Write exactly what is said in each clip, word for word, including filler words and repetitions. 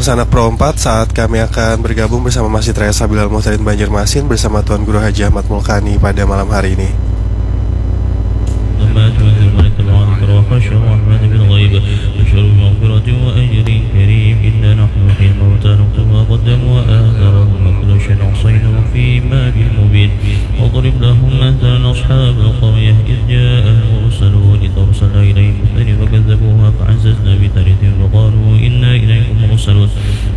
Sanak Pro empat, saat kami akan bergabung bersama Masjid Raya Sabilal Muhtadin Banjarmasin bersama Tuan Guru Haji Ahmad Mulkani pada malam hari ini. واضرب لهم مثلا أصحاب القرية إذ جاءها المرسلون إذ أرسلنا إليهم اثنين فكذبوهما فعززنا بثالث فقالوا إنا إليكم مرسلون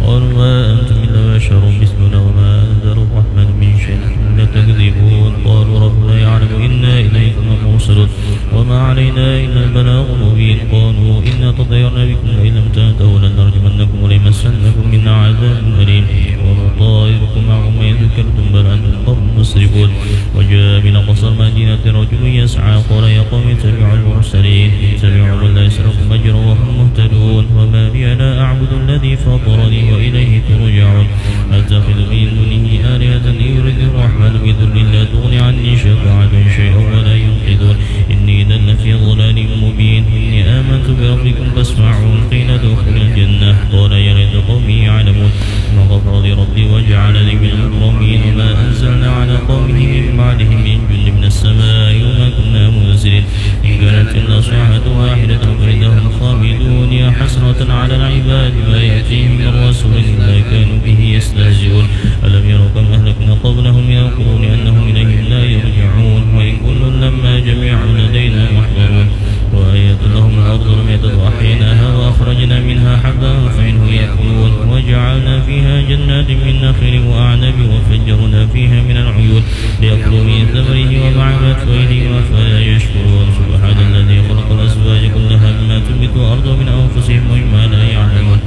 قالوا ما أنتم إلا بشر مثلنا وما أنزل الرحمن من شيء إن تكذبون قالوا ربنا يعلم إنا إليكم لمرسلون وما علينا إلا البلاغ المبين قالوا إنا تطيرنا بكم لئن لم تنتهوا لنرجمنكم وليمسنكم منا عذاب أليم وما طائركم معكم أئن ذكرتم بل أنتم قوم مسرفون وجاء من أقصى المدينة رجل يسعى قال يا قوم اتبعوا المرسلين اتبعوا من لا يسألكم أجرا وهم مهتدون وما لي لا أعبد الذي فطرني وإليه ترجعون أتخذ من دونه آلهة إن يردني الرحمن بضر لا تغن عني شفاعتهم شيئا ولا ينقذون إني إذا لفي ضلال مبين إني آمنت بربكم فاسمعون قيل ادخل الجنة قال يا ليت قومي يعلمون بما غفر لي ربي وجعلني من المكرمين وما أنزلنا على قومه من بعده من جند من السماء وما كنا منزلين إن كانت إلا صيحة واحدة فإذا هم خامدون يا حسرة على العباد ما يأتيهم من رسول إلا كانوا به يستهزئون ألم يروا كم أهلكنا قبلهم من القرون أنهم إليهم لا يرجعون وإن كل لما جميع لدينا محضرون وآية لهم الأرض الميتة أحييناها وأخرجنا منها حبا فمنه يأكلون وجعلنا فيها جنات من نخيل وأعناب وفجرنا فيها من العيون ليأكلوا من ثمره وما عملته أيديهم أفلا يشكرون سبحان الذي خلق الأزواج كلها مما تنبت الأرض ومن أنفسهم ومما لا يعلمون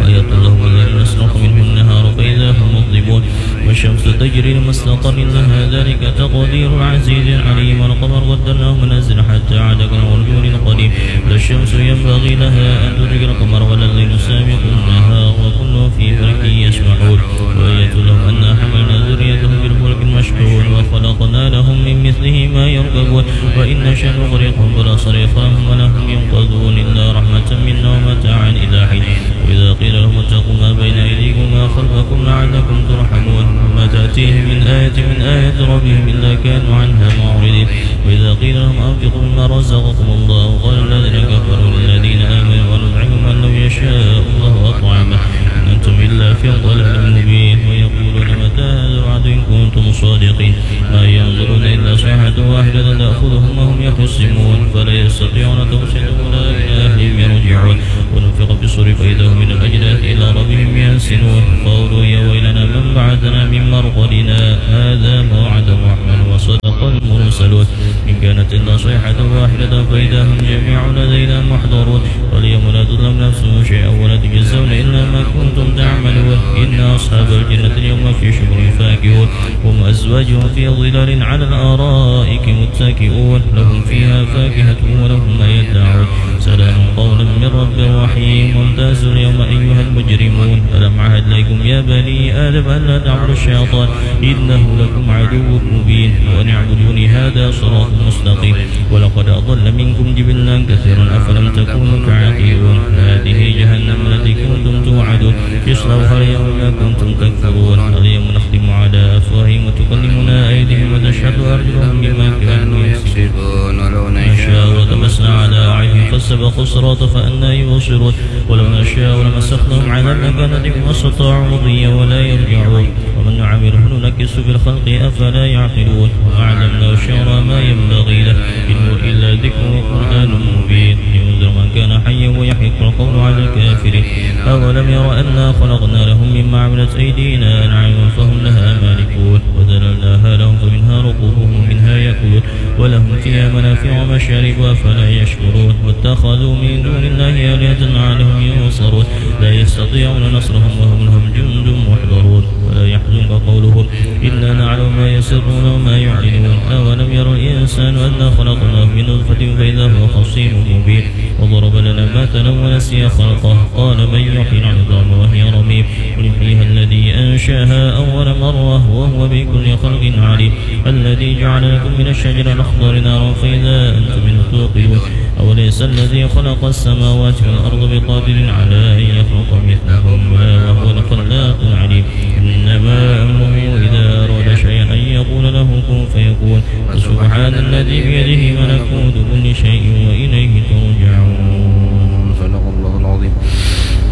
وآية لهم الليل نسلخ منه النهار فإذا هم مظلمون والشمس تجري لمستقر لها ذلك تقدير العزيز العليم والقمر قدرناه منازل حتى عاد كالعرجون القديم لا الشمس ينبغي لها أن تدرك القمر ولا الليل سابق النهار وكل في فلك يسبحون وآية لهم أنا حملنا ذريتهم في الفلك المشحون وخلقنا لهم من مثله ما يركبون وإن نشأ نغرقهم فلا صريخ لهم ولا هم ينقذون إلا رحمة منا ومتاعا إلى حين وإذا قيل لهم اتقوا ما بين أيديكم وما خلفكم لعلكم ترحمون وما تأتيهم من آية من آيات ربهم إلا كانوا عنها معرضين وإذا قيل لهم أنفقوا مما رزقكم الله قال الذين كفروا للذين آمنوا أنطعم من لو يشاء الله أطعمه إن أنتم إلا في ضلال مبين ويقولون متى هذا الوعد إن كنتم صادقين ما ينظرون إلا صيحة واحدة تأخذهم وهم يخصمون فلا يستطيعون توصية ولا إلى أهلهم يرجعون ونفخ في الصور فإذا هم من الأجداث إلى ربهم ينسلون قالوا يا ويلنا من بعثنا من مرقدنا هذا ما وعد الرحمن وصدق المرسلون إن كانت إلا صيحة واحدة فإذا هم جميع لدينا محضرون فاليوم لا تظلم نفس شيئا ولا تجزون إلا ما كنتم تعملون إن أصحاب الجنة اليوم في شغل فاكهون هم وأزواجهم في ظلال على الأرائك متكئون لهم فيها فاكهة ولهم ما يدعون سلام قولا من رب رحيم وامتازوا اليوم أيها المجرمون ألم أعهد إليكم يا بني آدم ألا تعبدوا الشيطان إنه لكم عدو مبين وأن اعبدوني هذا صراط مستقيم ولقد أضل منكم جبلا كثيرا أفلم تكونوا تعقلون هذه جهنم التي كنتم توعدون اصلوها اليوم بما كنتم تكفرون اليوم نختم على أفواههم وتكلمنا أيديهم وتشهد أرجلهم بما كانوا يكسبون ولو نشاء لطمسنا على أعينهم فاستبقوا الصراط فأنى يبصرون ولو نشاء لمسخناهم على مكانتهم ما استطاعوا مضيا ولا يرجعون ومن نعمره ننكسه في الخلق أفلا يعقلون وما علمناه الشعر وما ينبغي له إن هو إلا ذكر وقرآن مبين لينذر من كان حيا ويحق القول على الكافرين أولم ير أنا خلقنا لهم مما عملت أيدينا أنعاما فهم لها مالكون وذللناها لهم فمنها ركوبهم ومنها يأكلون ولهم فيها منافع ومشارب أفلا يشكرون واتخذوا من دون الله آلهة لعلهم ينصرون لا يستطيعون نصرهم وهم لهم جند محضرون ولا يحزنك قولهم إنا نعلم ما يسرون وما يعلنون أولم ير الإنسان أنا خلقناه من نطفة فإذا هو خصيم مبين وضرب لنا مثلا ونسي خلقه قال من يحيي العظام وهي رميم قل يحييها الذي أنشأها يغشاها أول مرة وهو بكل خلق عليم. الذي جعل لكم من الشجر الأخضر نارا فإذا أنتم منه توقدون. أوليس الذي خلق السماوات والأرض بقادر على أن يخلق مثلهم؟ بلى وهو الخلاق العليم. إنما أمره إذا أراد شيئا أن يقول له كن فيكون. فسبحان الذي بيده ملكوت كل شيء وإليه ترجعون. صدق الله العظيم.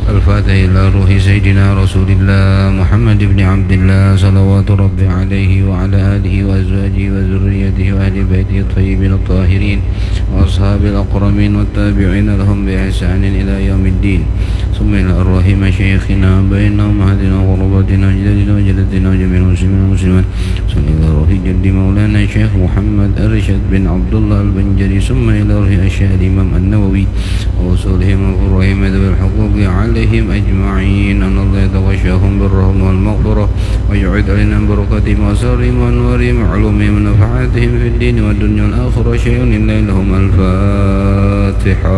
الفاتحة إلى روح سيدنا رسول الله محمد بن عبد الله، صلوات ربي عليه وعلى آله وأزواجه وذريته وأهل بيته الطيبين الطاهرين وأصحابه الأكرمين والتابعين لهم بإحسان إلى يوم الدين. ثم إلى أرواح مشايخنا وآبائنا وأمهاتنا وقرباتنا وأجدادنا وجداتنا وجميع المسلمين والمسلمات. ثم إلى روح جد مولانا الشيخ محمد أرشد بن عبد الله البنجري، ثم إلى روح الشيخ الإمام النووي وأصولهم وفروعهم ذوي الحقوق عليهم أجمعين، أن الله يتغشاهم بالرحمة والمغفرة، ويعيد علينا من بركاتهم وأسرارهم وأنوارهم وعلومهم ونفحاتهم في الدين والدنيا والآخرة شيء إلا لهم. الفاتحة.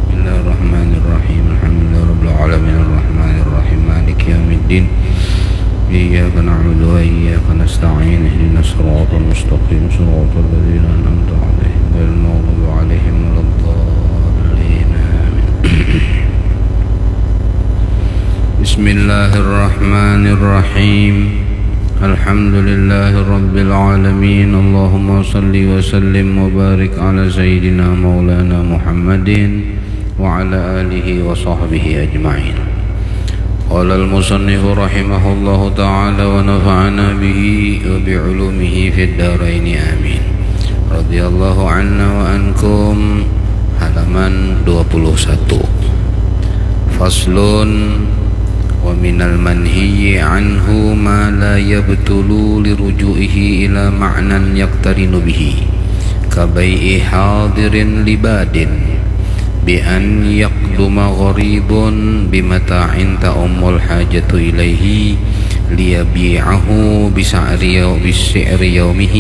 بسم الله الرحمن الرحيم. الحمد لله رب العالمين. الرحمن الرحيم. مالك يوم الدين. إياك نعبد وإياك نستعين. اهدنا الصراط المستقيم. صراط الذين أنعمت عليهم غير المغضوب عليهم ولا الضالين. آمين. بسم الله الرحمن الرحيم. الحمد لله رب العالمين. اللهم صل وسلم وبارك على سيدنا مولانا محمد وعلى آله وصحبه أجمعين. قال المصنف رحمه الله تعالى ونفعنا به وبعلومه في الدارين آمين. رضي الله عنا وعنكم. Halaman dua puluh satu. Faslun. ومن المنهي عنه ما لا يبطل لرجوعه إلى معنى يقترن به كبيع حاضر لباد بأن يقدم غريب بمتاع تعم الحاجة إليه ليبيعه بسعر يو-، بسعر يومه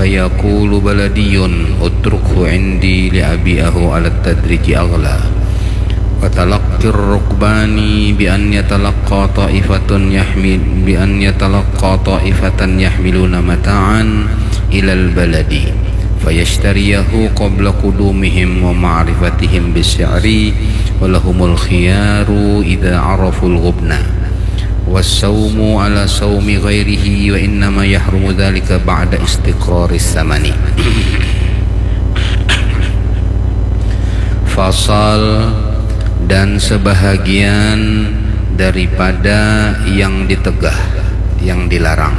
فيقول بلدي اتركه عندي لأبيعه على التدريج أغلى. وتلقي الركبان بأن يتلقى طائفة يحمل، بأن يتلقى طائفة يحملون متاعا إلى البلد فيشتريه قبل قدومهم ومعرفتهم بالسعر ولهم الخيار إذا عرفوا الغبن. والصوم على صوم غيره وإنما يحرم ذلك بعد استقرار الثمن. Fasal. Dan sebahagian daripada yang ditegah, yang dilarang,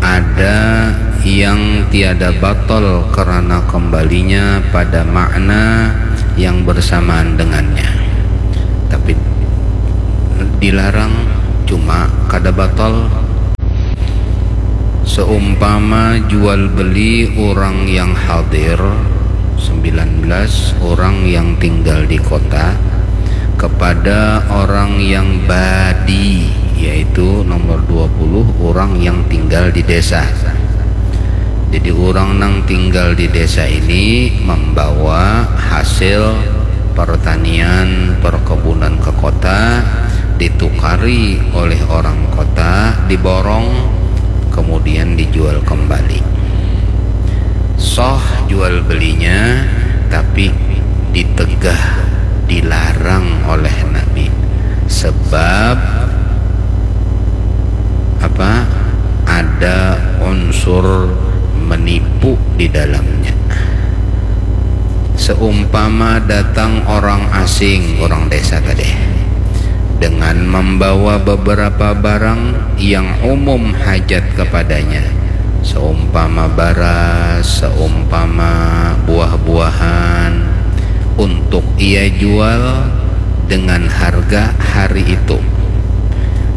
ada yang tiada batal karena kembalinya pada makna yang bersamaan dengannya, tapi dilarang cuma kada batal. Seumpama jual beli orang yang hadir, sembilan belas, orang yang tinggal di kota, kepada orang yang badi, yaitu nomor dua puluh, orang yang tinggal di desa. Jadi, orang nang tinggal di desa ini membawa hasil pertanian, perkebunan ke kota, ditukari oleh orang kota, diborong, kemudian dijual kembali. Sah jual belinya, tapi ditegah, dilarang oleh Nabi. Sebab apa? Ada unsur menipu di dalamnya. Seumpama datang orang asing, orang desa tadi, dengan membawa beberapa barang yang umum hajat kepadanya, seumpama baras, seumpama buah-buahan, untuk ia jual dengan harga hari itu.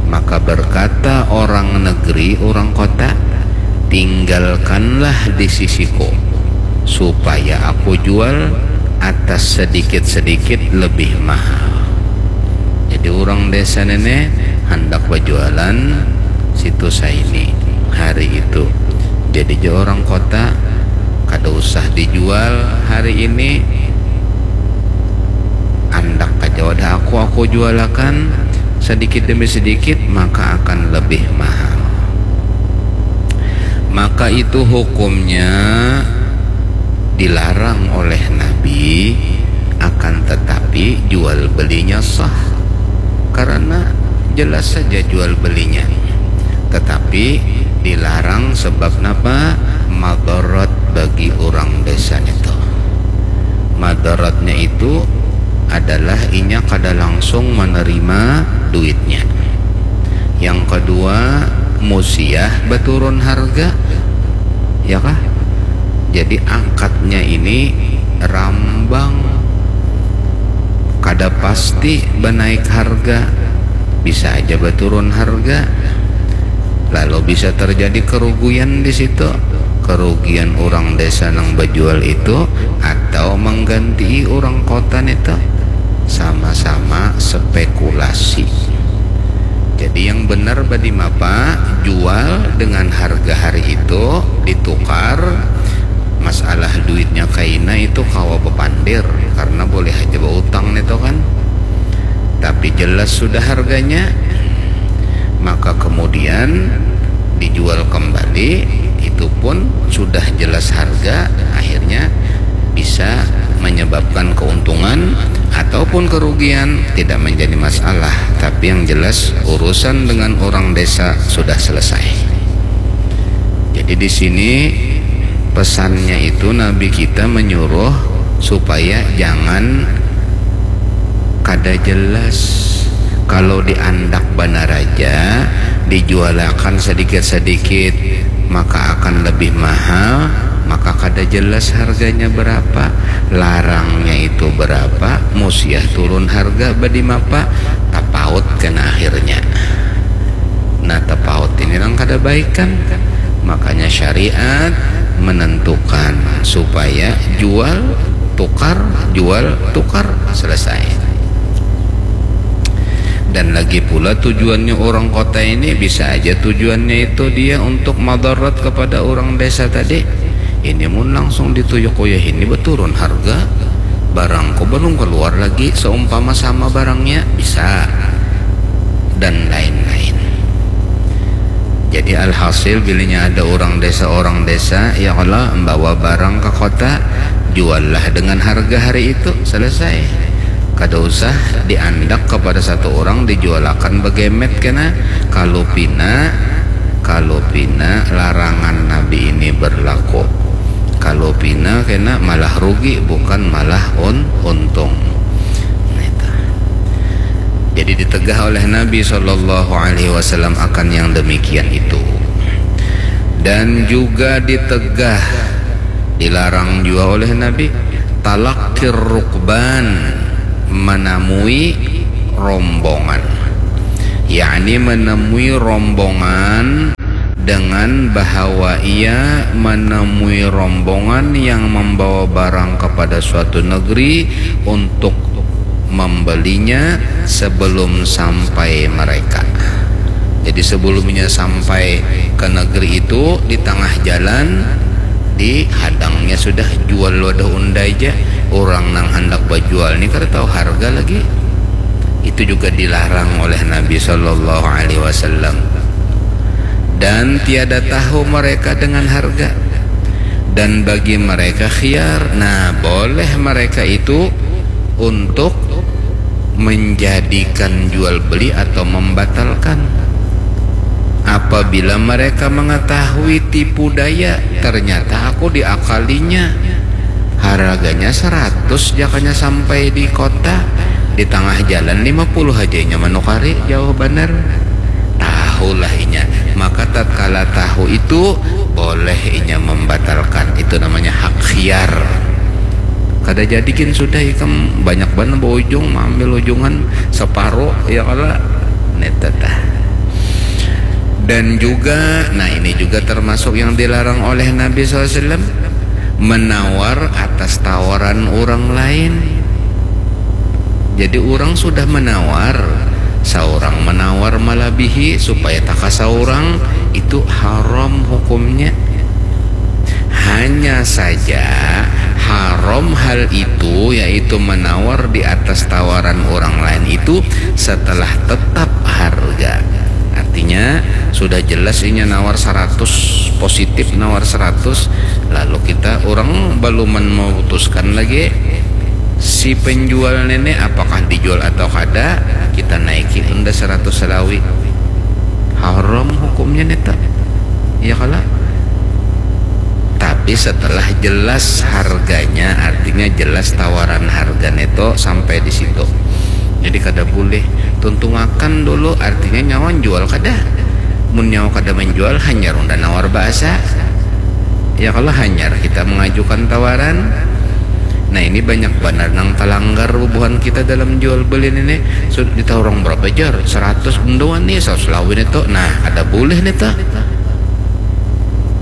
Maka berkata orang negeri, orang kota, "Tinggalkanlah di sisiku, supaya aku jual atas sedikit-sedikit lebih mahal." Jadi, orang desa nene handak bajualan situ saini hari itu. Jadi, ja orang kota, "Kada usah dijual hari ini, andak aja wadah aku, aku jualakan sedikit demi sedikit, maka akan lebih mahal. Maka itu hukumnya dilarang oleh Nabi, akan tetapi jual belinya sah karena jelas saja jual belinya. Tetapi dilarang sebab napa? Madarat bagi orang desa itu. Madaratnya itu adalah inya kada langsung menerima duitnya. Yang kedua, musiah beturun harga, ya kah? Jadi akadnya ini rambang, kada pasti benaik harga, bisa aja beturun harga, lalu bisa terjadi kerugian di situ, kerugian orang desa nang bejual itu atau mengganti orang kota itu, sama-sama spekulasi. Jadi yang benar badi mapa, jual dengan harga hari itu, ditukar. Masalah duitnya kaina itu kawa bepandir karena boleh aja berutang itu kan. Tapi jelas sudah harganya, maka kemudian dijual kembali, itu pun sudah jelas harga, akhirnya bisa menyebabkan keuntungan ataupun kerugian, tidak menjadi masalah. Tapi yang jelas urusan dengan orang desa sudah selesai. Jadi di sini pesannya itu Nabi kita menyuruh supaya jangan kada jelas. Kalau diandak banar aja, dijualakan sedikit-sedikit, maka akan lebih mahal, maka kada jelas harganya berapa, larangnya itu berapa, musiah turun harga badi mapa, tapaut kena akhirnya. Nah, tapaut ini nang kada baik kan. Makanya syariat menentukan supaya jual tukar, jual tukar, selesai. Dan lagi pula tujuannya orang kota ini bisa aja tujuannya itu dia untuk madarat kepada orang desa tadi. Ini mun langsung dituyuk kaya ini beturun harga, barangku belum keluar lagi seumpama sama barangnya, bisa. Dan lain-lain. Jadi alhasil bilinya ada orang desa, orang desa ya Allah membawa barang ke kota, juallah dengan harga hari itu, selesai. Kada usah diandak kepada satu orang dijualakan begemet kena. Kalau pina, kalau pina larangan Nabi ini berlaku. Kalau pina kena malah rugi, bukan malah un untung. Nah, itu. Jadi ditegah oleh Nabi Shallallahu Alaihi Wasallam akan yang demikian itu. Dan juga ditegah, dilarang juga oleh Nabi, talakir rukban, menemui rombongan, yakni menemui rombongan dengan bahawa ia menemui rombongan yang membawa barang kepada suatu negeri untuk membelinya sebelum sampai mereka. Jadi sebelumnya sampai ke negeri itu, di tengah jalan dihadangnya sudah jual wadah unda aja. Orang nang hendak bajual ni kada tahu harga lagi. Itu juga dilarang oleh Nabi Shallallahu Alaihi Wasallam. Dan tiada tahu mereka dengan harga. Dan bagi mereka khiyar, nah, boleh mereka itu untuk menjadikan jual beli atau membatalkan. Apabila mereka mengetahui tipu daya, ternyata aku diakalinya. Harganya seratus jakanya sampai di kota, di tengah jalan lima puluh aja inya menukari, jauh banar. Tahulah inya. Maka tatkala tahu itu, boleh inya membatalkan. Itu namanya hak khiyar. Kada jadi gin sudah ikam banyak banar berujung, mengambil ujungan separuh, ya kala. Neta tah. Dan juga, nah, ini juga termasuk yang dilarang oleh Nabi Sallallahu Alaihi Wasallam, menawar atas tawaran orang lain. Jadi orang sudah menawar, seorang menawar melebihi supaya taka seorang, itu haram hukumnya. Hanya saja Haram hal itu, yaitu menawar di atas tawaran orang lain itu setelah tetap harga. Artinya, sudah jelas inya nawar seratus, positif nawar seratus, lalu kita, orang belum memutuskan lagi si penjual nene apakah dijual atau kada, kita naiki unda seratus salawi. Haram hukumnya neta. Iya kala? Tapi setelah jelas harganya, artinya jelas tawaran harga neto sampai di situ. Jadi kada boleh. Tuntungakan dulu, artinya nyawa jual kada. Mun nyawa kada menjual, hanyar unda nawar bahasa. Ya kalau hanyar kita mengajukan tawaran. Nah, ini banyak banar nang talanggar bubuhan kita dalam jual beli ini. Sudah ditahu orang berapa jar? Seratus, unda wani, seratus lawan itu. Nah, ada boleh nih tuh.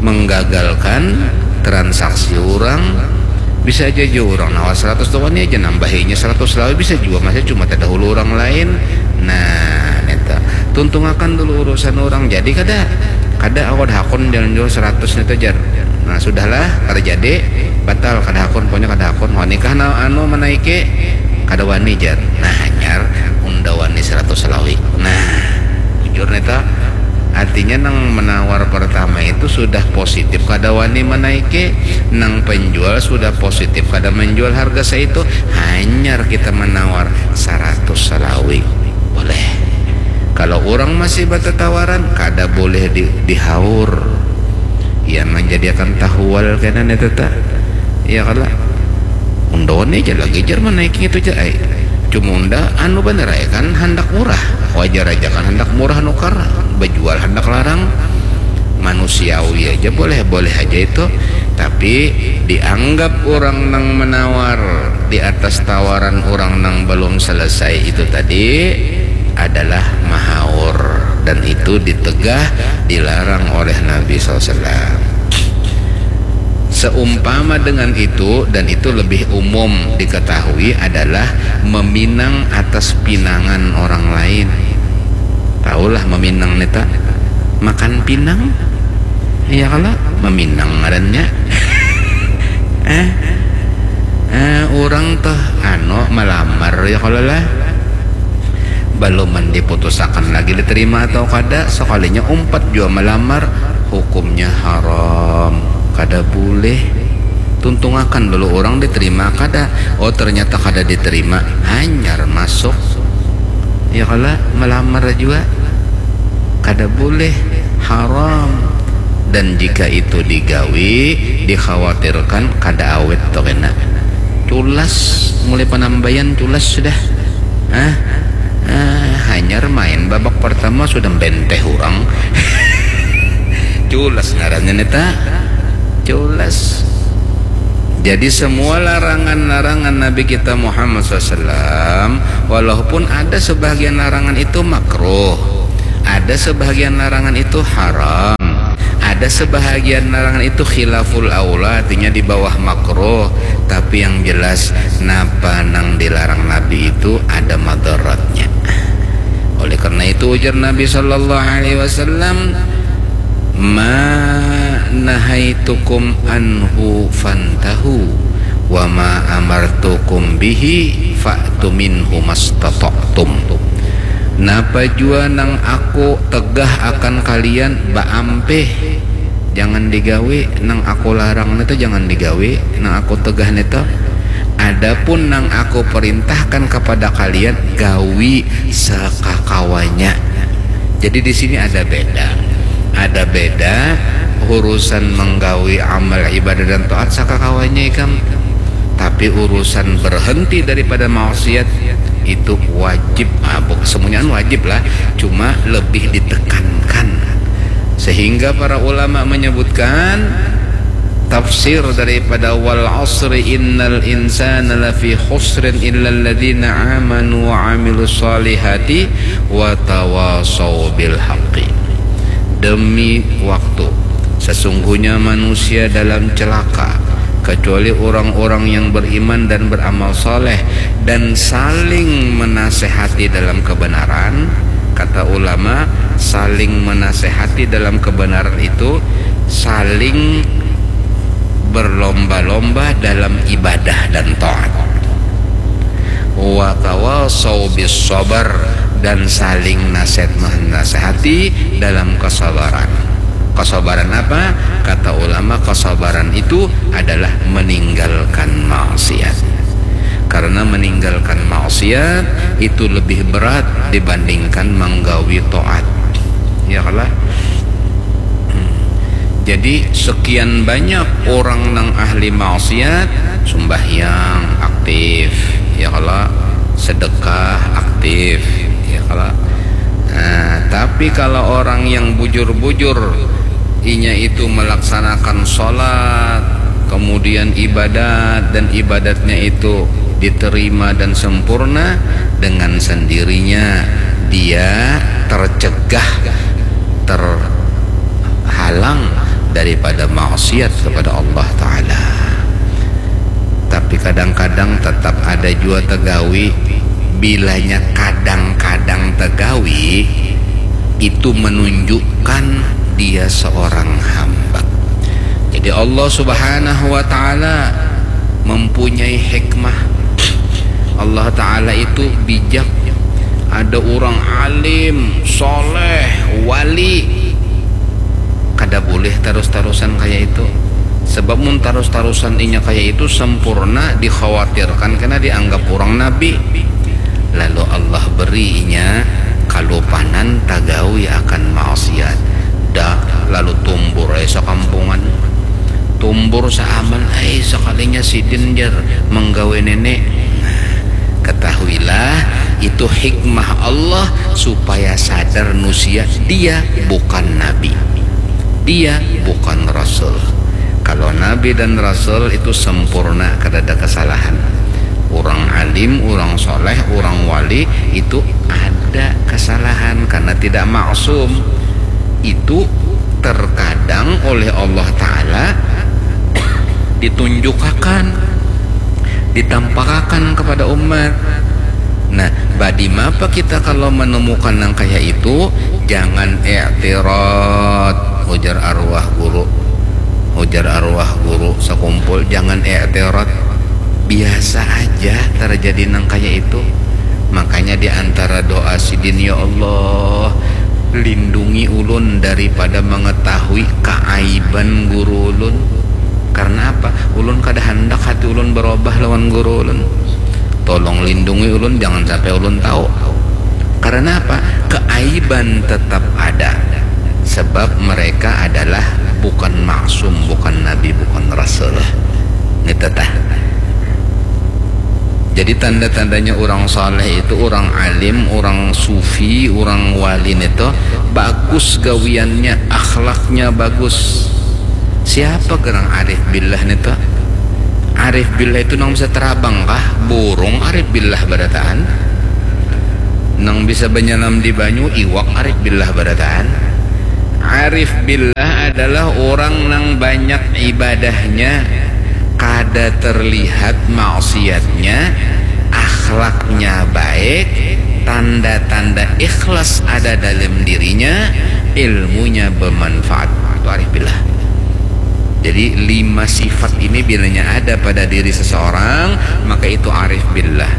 Menggagalkan transaksi orang. Bisa aja jua orang nawar seratus tuh wani aja, nambahinya seratus lawan bisa jua, masih cuma terdahulu orang lain. Nah, neta, tuntungakan dulu urusan orang. Jadi kada, kada awad hakun jalan jual seratus neta jar. Nah, sudahlah, kada jadi, batal, kada hakun, pokoknya kada hakun. Wani kah na-, anu, menaiki? Kada wani jar. Nah, hanyar unda wani seratus salawi. Nah, bujur neta. Artinya nang menawar pertama itu sudah positif kada wani menaiki, nang penjual sudah positif kada menjual harga saitu, hanyar kita menawar seratus salawi. Boleh. Kalau orang masih bertatawaran, kada boleh di, dihaur. Ia menjadikan tahual kena neta. Iya kala? Unda wani aja lagi jar menaiki itu jar ai. Cuma unda anu banar ai kan handak murah. Wajar aja kan handak murah nukar, bejual handak larang. Manusiawi aja, boleh-boleh aja itu. Tapi dianggap orang nang menawar di atas tawaran orang nang belum selesai itu tadi adalah mahaur, dan itu ditegah, dilarang oleh Nabi sallallahu alaihi wasallam. Seumpama dengan itu, dan itu lebih umum diketahui, adalah meminang atas pinangan orang lain. Tahulah meminang neta? Makan pinang? Iya kala? Meminang ngarannya. Eh, eh, orang tuh anu melamar ya kala lah. Baluman diputusakan lagi diterima atau kada, sekalinya umpat jua melamar, hukumnya haram. Kada boleh. Tuntungakan dulu orang diterima kada. Oh, ternyata kada diterima, hanyar masuk. Ya kala, melamar jua. Kada boleh, haram. Dan jika itu digawi, dikhawatirkan kada awet tuh kena. Culas, mulai penambayan culas sudah. Ah, ah, hanyar main babak pertama sudah benteh orang. Culas ngarannya neta. Culas. Jadi semua larangan-larangan Nabi kita Muhammad sallallahu alaihi wasallam, walaupun ada sebahagian larangan itu makruh, ada sebahagian larangan itu haram, ada sebahagian larangan itu khilaful aula, artinya di bawah makruh, tapi yang jelas napa nang dilarang Nabi itu ada madaratnya. Oleh karena itu ujar Nabi sallallahu alaihi wasallam, "Ma nahaitukum anhu fantahu, wa ma amartukum bihi fa'tu minhu mastata'tum." Napa jua nang aku tegah akan kalian, baampih. Jangan digawi, nang aku larang nitu jangan digawi, nang aku tegah nitu. Adapun nang aku perintahkan kepada kalian, gawi sakakawanya. Jadi di sini ada beda. Ada beda urusan menggawi amal ibadah dan taat sakakawanya ikam. Tapi urusan berhenti daripada maksiat itu wajib. Ah, bu-, semuanya kan wajib lah, cuma lebih ditekankan. Sehingga para ulama menyebutkan tafsir daripada wal asri innal insana lafi khusrin illalladzina amanu wa amilus salihati wa tawasau bil haqqi. Demi waktu, sesungguhnya manusia dalam celaka kecuali orang-orang yang beriman dan beramal soleh dan saling menasehati dalam kebenaran. Kata ulama, saling menasehati dalam kebenaran itu saling berlomba-lomba dalam ibadah dan taat. Wa tawasau bis sabar, dan saling nasihat menasehati dalam kesabaran. Kesabaran apa? Kata ulama, kesabaran itu adalah meninggalkan maksiat. Karena meninggalkan maksiat itu lebih berat dibandingkan menggawi taat. Ya kalah? Hmm. Jadi sekian banyak orang nang ahli maksiat, sumbahyang aktif, ya kalah, sedekah aktif, ya kalah. Nah, tapi kalau orang yang bujur-bujur, inya itu melaksanakan sholat, kemudian ibadat, dan ibadatnya itu diterima dan sempurna, dengan sendirinya dia tercegah, terhalang daripada maksiat kepada Allah Ta'ala. Tapi kadang-kadang tetap ada jua tegawi. Bilanya kadang-kadang tegawi, itu menunjukkan dia seorang hamba. Jadi Allah Subhanahu wa Ta'ala mempunyai hikmah. Allah Ta'ala itu bijak. Ada orang alim, soleh, wali, kada boleh terus-terusan kayak itu. Sebab mun terus-terusan inya kayak itu sempurna, dikhawatirkan kena dianggap orang nabi. Lalu Allah beri inya kalupanan tagawi akan maksiat. Dah, lalu tumbur ai sakampungan. Tumbur saaman ai, sakalinya sidin jar menggawe nenek. Nah, ketahuilah, itu hikmah Allah supaya sadar nusia dia bukan nabi. Dia bukan rasul. Kalau nabi dan rasul itu sempurna, kada ada kesalahan. Orang alim, orang soleh, orang wali itu ada kesalahan karena tidak maksum. Itu terkadang oleh Allah Ta'ala ditunjukakan, ditampakakan kepada umat. Nah, badi mapa kita kalau menemukan yang kayak itu, jangan i'tirad, ujar arwah guru. Ujar arwah guru sakumpul, jangan i'tirad. Biasa aja terjadi nang kayak itu. Makanya di antara doa sidin, "Ya Allah, lindungi ulun daripada mengetahui keaiban guru ulun." Karena apa? Ulun kada handak hati ulun berubah lawan guru ulun. Tolong lindungi ulun, jangan sampai ulun tahu. Karena apa? Keaiban tetap ada. Sebab mereka adalah bukan maksum, bukan nabi, bukan rasul. Nita tah. Jadi tanda-tandanya orang saleh itu, orang alim, orang sufi, orang wali nito bagus gawiannya, akhlaknya bagus. Siapa gerang arif billah nito? Arif billah itu nang bisa terabang kah? Burung arif billah barataan. Nang bisa banyalam di banyu, iwak arif billah barataan. Arif billah adalah orang nang banyak ibadahnya, kada terlihat maksiatnya, akhlaknya baik, tanda-tanda ikhlas ada dalam dirinya, ilmunya bermanfaat. Itu arif billah. Jadi lima sifat ini bilanya ada pada diri seseorang, maka itu arif billah.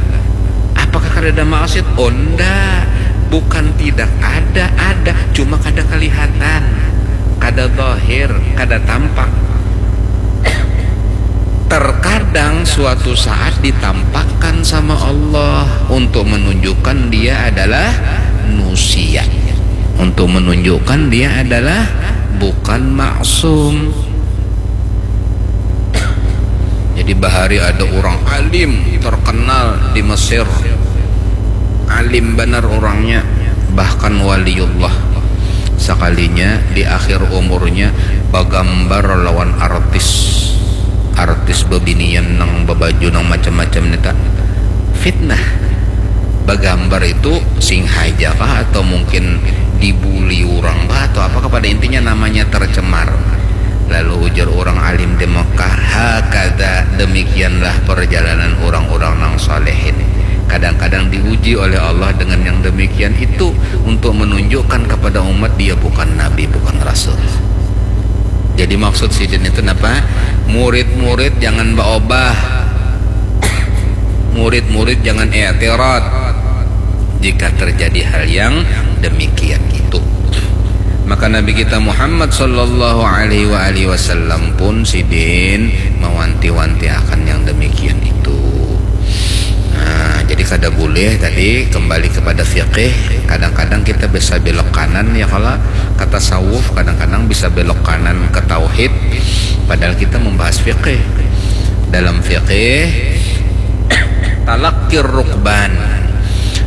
Apakah kada ada maksiat? Oh, ndak. Bukan tidak ada, ada, cuma kada kelihatan, kada zahir, kada tampak. Terkadang suatu saat ditampakkan sama Allah untuk menunjukkan dia adalah nusia, untuk menunjukkan dia adalah bukan maksum. Jadi bahari ada orang alim terkenal di Mesir, alim benar orangnya, bahkan waliullah. Sekalinya di akhir umurnya bagambar lawan artis, artis bebinian nang babaju nang macam-macam nita. Fitnah. Bagambar itu sing haja kah atau mungkin dibuli orang kah atau apa kah, pada intinya namanya tercemar. Lalu ujar orang alim di Mekah, "Hakada, demikianlah perjalanan orang-orang nang saleh ini." Kadang-kadang diuji oleh Allah dengan yang demikian itu untuk menunjukkan kepada umat dia bukan nabi, bukan rasul. Jadi maksud sidin itu napa? Murid-murid jangan baobah. Murid-murid jangan i'tirad jika terjadi hal yang demikian itu. Maka Nabi kita Muhammad sallallahu alaihi wa alihi wasallam pun sidin mawanti-wanti akan yang demikian itu. Nah, jadi kada boleh tadi kembali kepada fikih. Kadang-kadang kita bisa belok kanan ya, kalau kata tasawuf kadang-kadang bisa belok kanan ke tauhid, padahal kita membahas fikih. Dalam fikih, talakir rukban,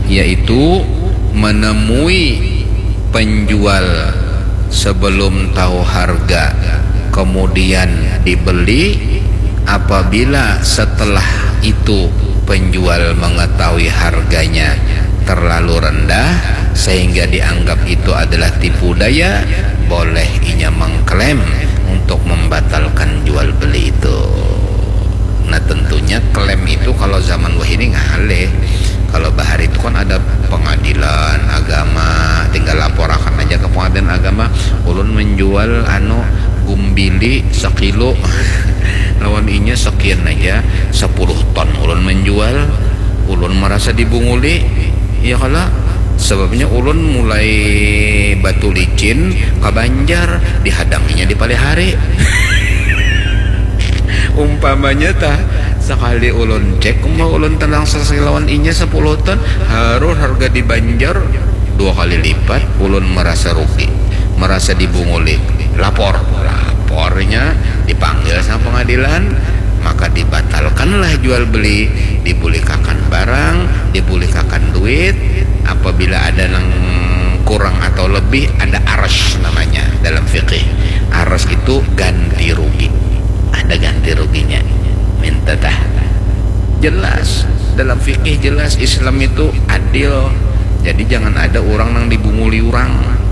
yaitu menemui penjual sebelum tahu harga, kemudian dibeli. Apabila setelah itu penjual mengetahui harganya terlalu rendah sehingga dianggap itu adalah tipu daya, boleh inya mengklaim untuk membatalkan jual beli itu. Nah, tentunya klaim itu kalau zaman wahini ngalih. Kalau bahari itu kan ada pengadilan agama, tinggal laporakan aja ke pengadilan agama, ulun menjual anu gumbili sekilo lawan inya sekian aja, sepuluh ton ulun menjual, ulun merasa dibunguli, ya kala? Sebabnya ulun mulai Batu Licin ke Banjar, dihadanginya di Palihari. Umpamanya tah, sekali ulun cek, umpama ulun tenang sekilawan inya sepuluh ton, harus harga di Banjar dua kali lipat, ulun merasa rugi, merasa dibunguli. Lapor, lapornya dipanggil sama pengadilan, maka dibatalkanlah jual beli, dibulikakan barang, dibulikakan duit. Apabila ada nang kurang atau lebih, ada aras namanya dalam fikih. Aras itu ganti rugi, ada ganti ruginya. Minta tah. Jelas, dalam fikih jelas, Islam itu adil. Jadi jangan ada orang nang dibunguli orang.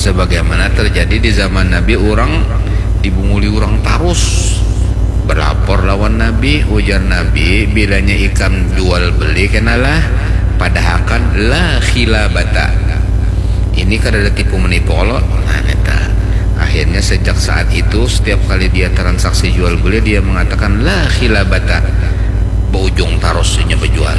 Sebagaimana terjadi di zaman Nabi, orang dibunguli orang tarus. Berlapor lawan Nabi, ujar Nabi, bilanya ikam jual beli kenalah padahakan la khilabata. Ini kada ada tipu menipu, kalau nah, neta. Akhirnya sejak saat itu, setiap kali dia transaksi jual beli, dia mengatakan la khilabata. Berujung tarus inya berjual.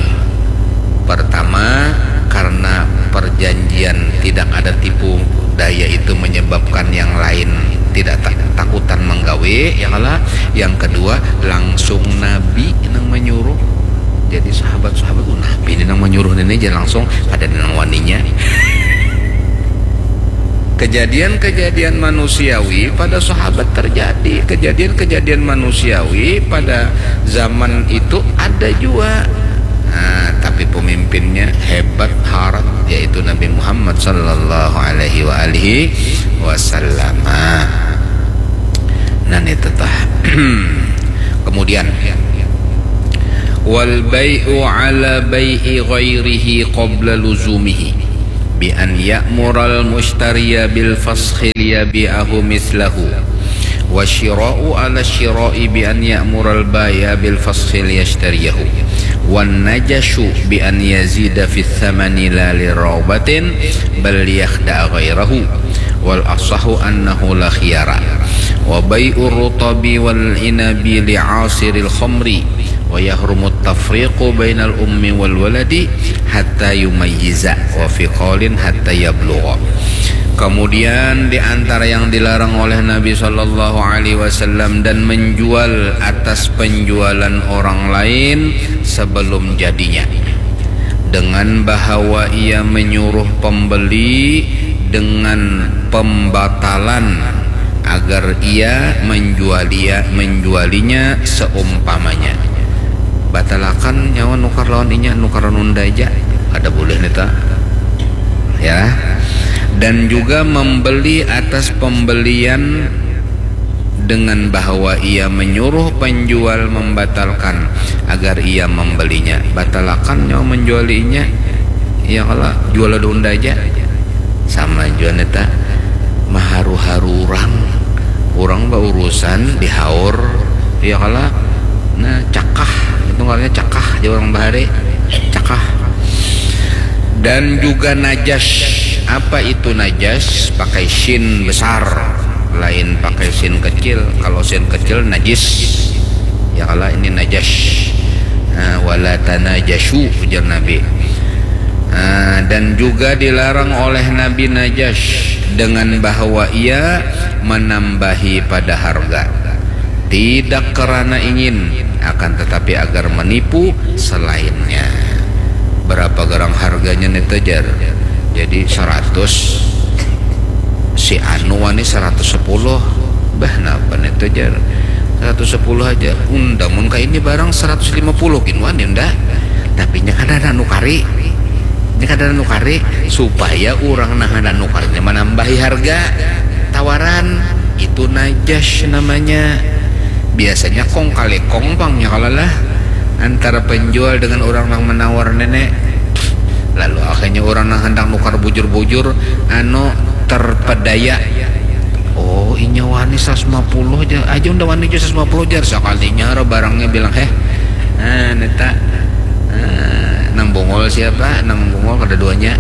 Pertama, karena perjanjian tidak ada tipu daya itu menyebabkan yang lain tidak tak, takutan menggawe, ya kala? Yang kedua, langsung Nabi nang menyuruh. Jadi sahabat-sahabat, oh, Nabi ini nang menyuruh ini aja langsung, ada nang waninya. Kejadian-kejadian manusiawi pada sahabat terjadi. Kejadian-kejadian manusiawi pada zaman itu ada juga. Nah, tapi pemimpinnya hebat harat, yaitu Nabi Muhammad sallallahu alaihi wa alihi wasallam. Nah, itu tah. Kemudian, wal bai'u ala bai'i ghairihi qabla luzumihi bi an ya'mural mushtariya bil faskhil yabi'ahu mislahu, wa syira'u ala syira'i bi an ya'mural bai'a bil faskhil yashtariyahu, wan najashu bi an yazida fis thamani la li ragbatin bal liyakhdha'a ghairahu, wal asahu annahu la khiyara, wa bai'ur rutabi wal inabi li asiril khamri, wa yahrumu tafriqu bainal ummi wal waladi hatta yumayyiza, wa fi qaulin hatta yablugha. Kemudian di antara yang dilarang oleh Nabi sallallahu alaihi wasallam dan menjual atas penjualan orang lain sebelum jadinya, dengan bahawa ia menyuruh pembeli dengan pembatalan agar ia menjualia, menjualinya seumpamanya. Batalakan nyawa nukar lawan inya, nukar lawan unda aja. Kada boleh nita. Ya. Dan juga membeli atas pembelian dengan bahawa ia menyuruh penjual membatalkan agar ia membelinya. Batalakan nyawa menjualinya. Ya kala, jual ada unda aja. Sama jua nita, maharu-haru urang. Urang baurusan dihaur, ya kala. Nah, cakah, itu ngarannya cakah, jar urang bahari. Cakah. Dan juga najas. Apa itu najas? Pakai shin besar. Lain pakai sin kecil. Kalau sin kecil najis. Ya kala, ini najash. Nah, wala tanajashu, ujar Nabi. Nah, dan juga dilarang oleh Nabi najash dengan bahwa ia menambahi pada harga. Tidak kerana ingin, akan tetapi agar menipu selainnya. Berapa garang harganya nih, tejar? Jadi seratus, si anu wani seratus sepuluh. Bah, napa nih, tejar? Seratus sepuluh aja. Unda mun ka ini barang seratus lima puluh gin wani unda. Tapi nya kada ada nukari. Nya kada ada nukari supaya urang nang handak nukarnya manambahi harga tawaran. Itu najash namanya. Biasanya kong kali kong pang nya kalo lah antara penjual dengan urang nang menawar nenek. Lalu akhirnya urang nang handak nukar bujur-bujur anu terpedaya. Oh, inya wani seratus lima puluh ja, aja unda wani jua seratus lima puluh jar. Sakalinya ro barangnya bilang, "Heh, nah, neta, nah, nang bungul siapa? Nang bungul kada duanya."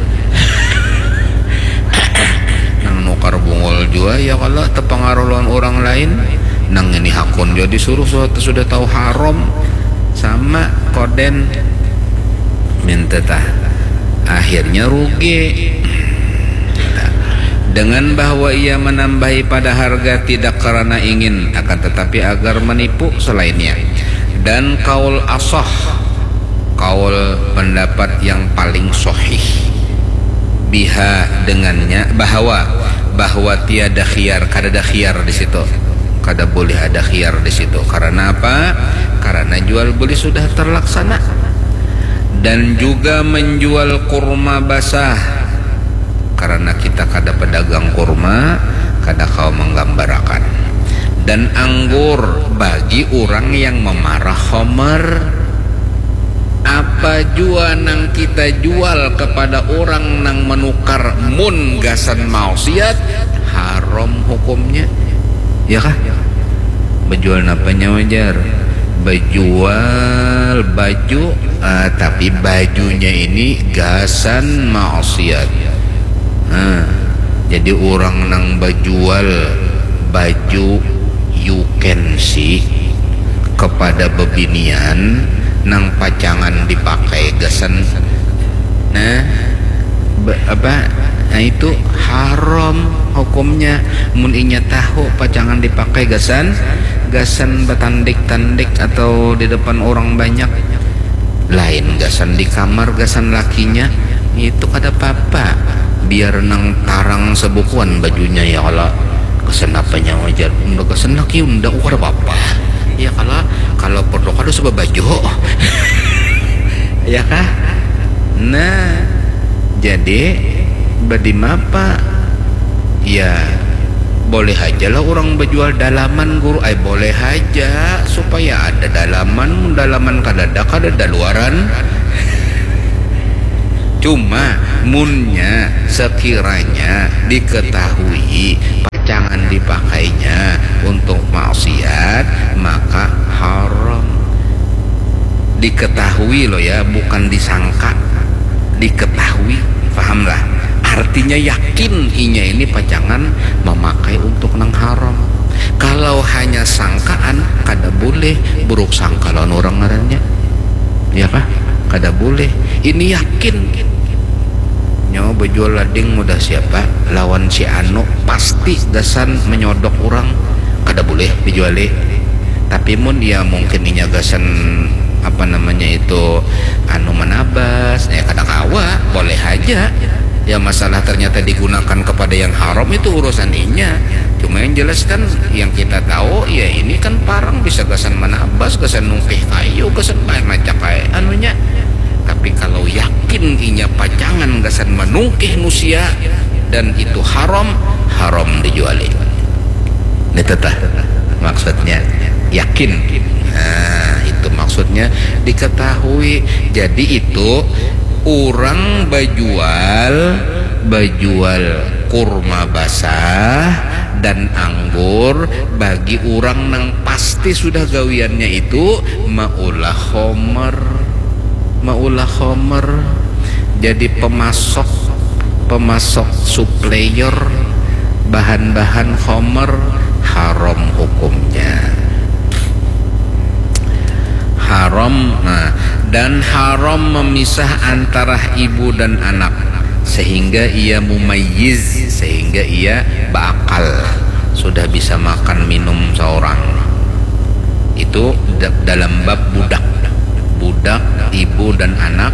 Nang nukar bungul jua ya kala tepengaruh lawan urang lain. Nang ini hakun jua disuruh suatu sudah tahu haram sama koden minta tah. Akhirnya rugi. Dengan bahwa ia menambahi pada harga tidak karena ingin, akan tetapi agar menipu selainnya. Dan kaul asah, kaul pendapat yang paling sahih, biha dengannya, bahwa, bahwa tiada khiyar, kada ada khiyar di situ. Kada boleh ada khiyar di situ. Karena apa? Karena jual beli sudah terlaksana. Dan juga menjual kurma basah. Karena kita kada pedagang kurma, kada kawa menggambarakan. Dan anggur bagi urang yang memarah khomer. Apa jua nang kita jual kepada urang nang menukar mun gasan maksiat, haram hukumnya. Ya kah? Bejual napa nya, wajar? Bejual baju, ah, tapi bajunya ini gasan maksiat. Nah, jadi urang nang bejual baju you can see kepada bebinian nang pacangan dipakai gasan, nah, be, apa, nah, itu haram hukumnya. Mun inya tahu pacangan dipakai gasan, gasan betandik-tandik atau di depan orang banyak, lain gasan di kamar gasan lakinya, itu kada papa. Biar nang tarang sebukuan bajunya ya kala. Gasan apa nya, wajar? Unda gasan laki unda, oh, kada papa. Ya kala, kalau perlu kada usah babaju. Ya kah? Nah, jadi badimapa? Ya, boleh haja lah orang bejual dalaman, guru. Ay, boleh haja supaya ada dalaman. Mun dalaman kadada, kadada luaran. Cuma munnya sekiranya diketahui pacangan dipakainya untuk maksiat, maka haram. Diketahui loh ya, bukan disangka. Diketahui, pahamlah? Artinya yakin inya ini pacangan memakai untuk nang haram. Kalau hanya sangkaan, kada boleh, buruk sangka lawan orang ngarannya. Ya kah? Kada boleh. Ini yakin. Nyawa bejual lading mudah siapa? Lawan si anu, pasti gasan menyodok orang. Kada boleh dijuali. Tapi mun ya mungkin inya gasan, apa namanya itu, anu, manabas, ya kada kawa, boleh haja. Ya, masalah ternyata digunakan kepada yang haram, itu urusan inya. Cuma yang jelas kan, yang kita tahu, ya ini kan parang bisa gasan manabas, gasan nungkih kayu, gasan bahan macak kayak anunya. Tapi kalau yakin inya pacangan gasan manungkih nusia dan itu haram, haram dijuali. Ini tetah maksudnya, yakin. Nah, itu maksudnya diketahui. Jadi itu orang bajual, bajual kurma basah dan anggur bagi orang nang pasti sudah gawiannya itu maulah homer. Maulah homer. Jadi pemasok, pemasok, supplier. Bahan-bahan khomer haram hukumnya. Haram, nah, dan haram memisah antara ibu dan anak, sehingga ia mumayyiz, sehingga ia berakal, sudah bisa makan minum seorang. Itu da- dalam bab budak. Budak, ibu dan anak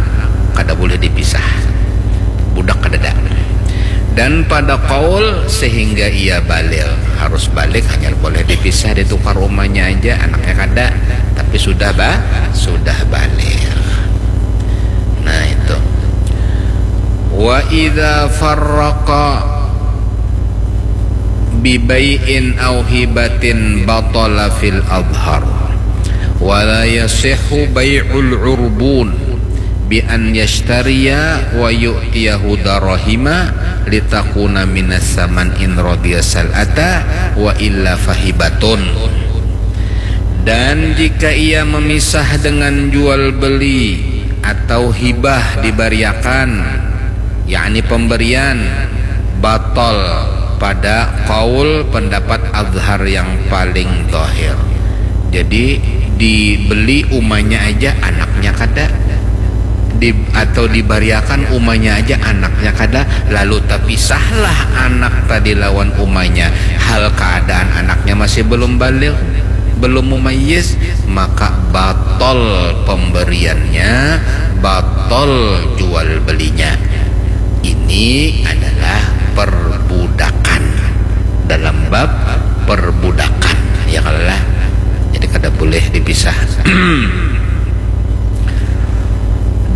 kada boleh dipisah. Budak kadada. Dan pada qaul sehingga ia baligh, harus baligh, hanya boleh dipisah, ditukar umanya aja, anaknya kada, tapi sudah ba sudah baligh. Nah, itu. Wa idza farraqa bi bai'in au hibatin batala fil adhar. Wa la yasihhu bai'ul urbun bi an yashtariya wa yu'tiyahu darahima litakuna minas saman in radiya sal'ata wa illa fahibatun. Dan jika ia memisah dengan jual beli atau hibah dibariakan, yakni pemberian, batal pada qaul pendapat azhar yang paling zahir. Jadi dibeli umanya aja, anaknya kada. Di, atau dibariakan umanya aja, anaknya kada, lalu tapisahlah anak tadi lawan umanya, hal keadaan anaknya masih belum baligh, belum mumayyiz, maka batal pemberiannya, batal jual belinya. Ini adalah perbudakan, dalam bab perbudakan, ya kalo lah. Jadi kada boleh dipisah.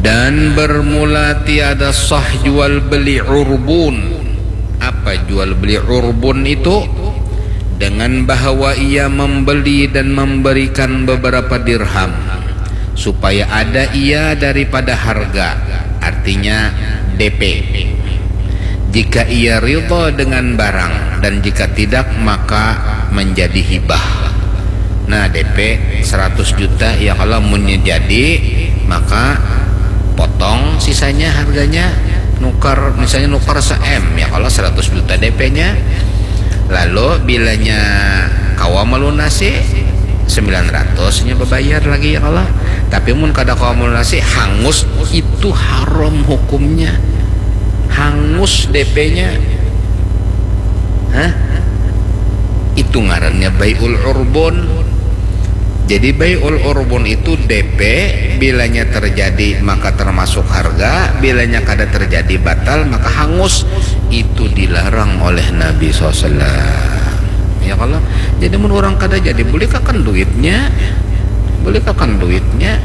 Dan bermula tiada sah jual beli urbun. Apa jual beli urbun itu? Dengan bahawa ia membeli dan memberikan beberapa dirham, supaya ada ia daripada harga, artinya D P. Jika ia ridha dengan barang, dan jika tidak, maka menjadi hibah. Nah, D P seratus juta, ya, kalau munnya jadi, maka potong sisanya harganya, nukar, misalnya nukar se-M, ya, kalau seratus juta D P-nya. Lalu bilanya kawa melunasi, sembilan ratus nya bebayar lagi, ya, kalau. Tapi mun kada kawa melunasi, hangus, itu haram hukumnya. Hangus D P-nya. Hah? Itu ngarannya bai'ul urbun. Jadi bai'ul urbun itu D P, bilanya terjadi maka termasuk harga, bilanya kada terjadi batal maka hangus. Itu dilarang oleh Nabi sallallahu alaihi wasallam. Ya kalau, jadi mun orang kada jadi, boleh kakan duitnya, boleh kakan duitnya.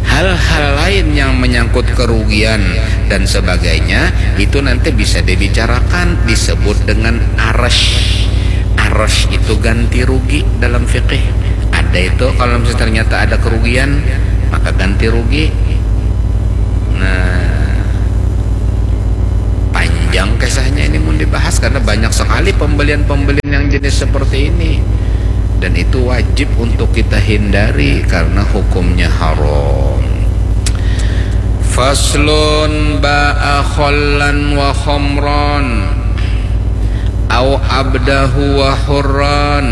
Hal-hal lain yang menyangkut kerugian dan sebagainya, itu nanti bisa dibicarakan, disebut dengan arash. Arash itu ganti rugi dalam fikih. Ada itu, kalau misalnya ternyata ada kerugian, maka ganti rugi. Nah, panjang kisahnya ini mun dibahas, karena banyak sekali pembelian-pembelian yang jenis seperti ini. Dan itu wajib untuk kita hindari karena hukumnya haram. Faslun ba'a khallan wa khamran, au abdahu wa hurran,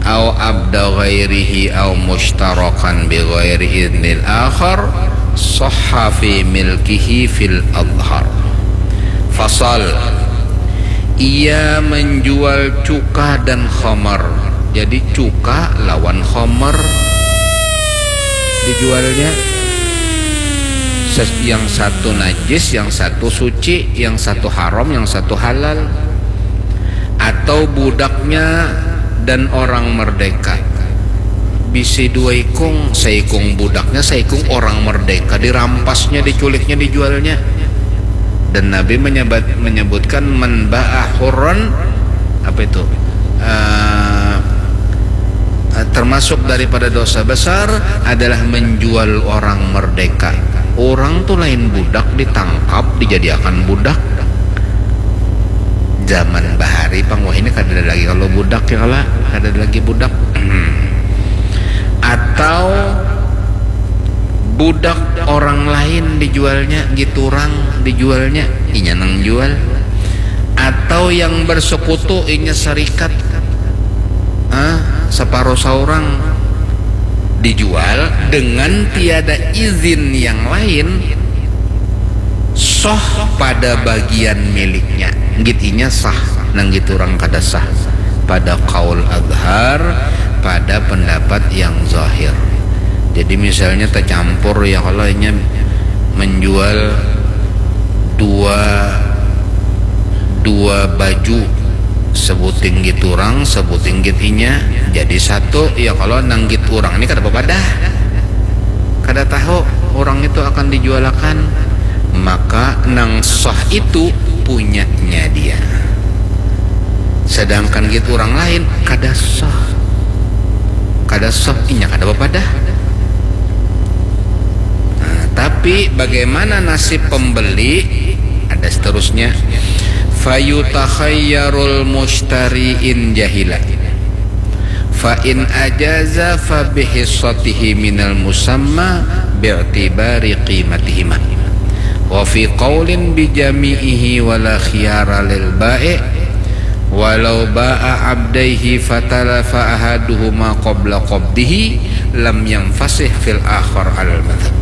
au abda ghairihi, au mushtarakan bi ghairi idnil akhar, sahha fi milkihi fil adhar. Fasal, ia menjual cuka dan khamar. Jadi cuka lawan khamar dijualnya. Ses-, yang satu najis, yang satu suci, yang satu haram, yang satu halal. Atau budaknya dan orang merdeka. Bisi dua ikung, saikung budaknya, saikung orang merdeka, dirampasnya, diculiknya, dijualnya. Dan Nabi menyebut, menyebutkan, "Man ba'a hurran," apa itu? Eh, eh, termasuk daripada dosa besar adalah menjual orang merdeka. Orang tu lain budak, ditangkap, dijadiakan budak. Zaman bahari pang wahini kadada lagi kalau budak, ya kala, kadada lagi budak. Atau budak orang lain dijualnya, giturang dijualnya, inya nang jual. atau yang bersekutu inya serikat, ah, separuh saurang, dijual dengan tiada izin yang lain, sah pada bagian miliknya. Nggit inya sah, nang nggit urang kada sah. Pada kaul azhar, pada pendapat yang zahir. Jadi misalnya tercampur ya, kalau inya menjual dua dua baju, sebuting git urang, sebuting git inya, jadi satu. Ya kalau nang git urang ini kada bapadah, kada tahu orang itu akan dijualakan, maka nang sah itu punyanya dia. Sedangkan git urang lain kada sah, kada sah, inya kada bapadah. Nah, tapi bagaimana nasib pembeli? Ada seterusnya. Fayutakhayyarul mushtari in jahila. Fa in ajaza fa bihissatihi minal musamma bi'tibari qimatihima. Wa fi qaulin bi jami'ihi wa la khiyara lil ba'i'. Walau ba'a abdaihi fatalafa ahaduhuma qabla qabdihi lam yanfasih fil akhar alal madhab.